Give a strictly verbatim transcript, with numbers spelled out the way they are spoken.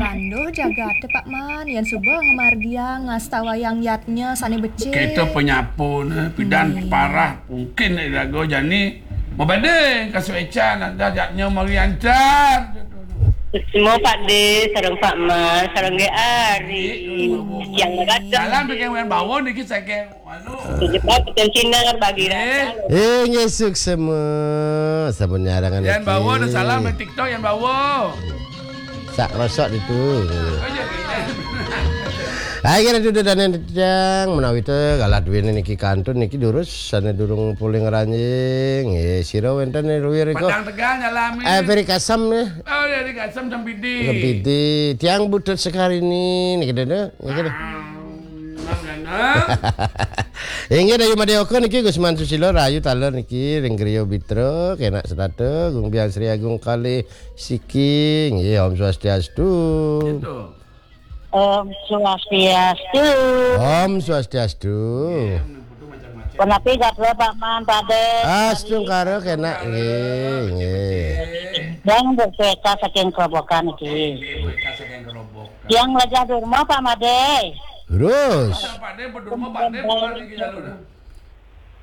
Anduh jagaté, Pak Man, yén suba ngamargiang ngastawayang yadnya sané becik. Kéto penyapun, pidan parah mungkin iraga jani mabedé kasuécan ada yadnya mariancar. Semua Pak Dé, sareng Pak Man, sareng Dé Ari. Yang datang. Salam bikin wen bawa niki saking Jebak Cina bagi rasa. Eh, ngesuk semua. Sampun nyarangan. Yang bawa ada salam di TikTok yang bawa. Sak rosok itu. Ayo kita duduk dan yang menawi te galah duit niki kantun niki durus sana durung puling ranjing. Eh, siro wenten nih luwir iko. Padang Tegal nyalami. Eh, Ferry Kasam nih. Oh, dari Kasam Sampidi. Sampidi. Tiang butut sekali nih, nih kita deh. Nih kita. Inggih Dayu Madé Oka niki Gusman Susilo rahayu taler niki ring griya Bitra kenak setata Gung Biang Sri Agung kalih siki nggih Om Swastiastu. Om Swastiastu. Om Swastiastu. Punapi gatra Pak Man Padé. Astungkara kenak nggih nggih. Dan bersueka saking kerobokan niki. Yang Lajah Durma Pak Madé. Terus. Pak Dé, Pak Durma, Pak Dé, bukan iki jalur.